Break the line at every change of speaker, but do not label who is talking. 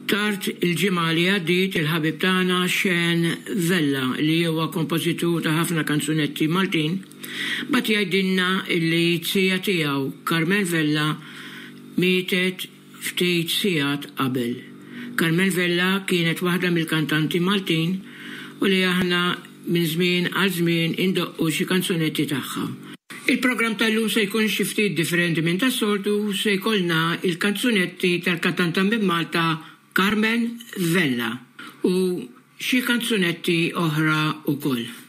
Tard il-ġimgħa li għaddiet il-ħabib tagħna Sean Vella li huwa kompożitur ta' ħafna kanzunetti Maltin bagħat jgħidilna illi z-zija tiegħu Carmen Vella mietet ftit sigħat qabel. Carmen Vella kienet waħda mill-kantanti Maltin u li aħna minn żmien għal żmien indoqqu xi kanzunetti tagħha. Il-programm tal-lum se jkun xi ftit differenti minn tas-soltu, se jkollna il-kanzunetti tal-kantanta minn Malta Carmen Vella u xi kanzunetti oħra wkoll.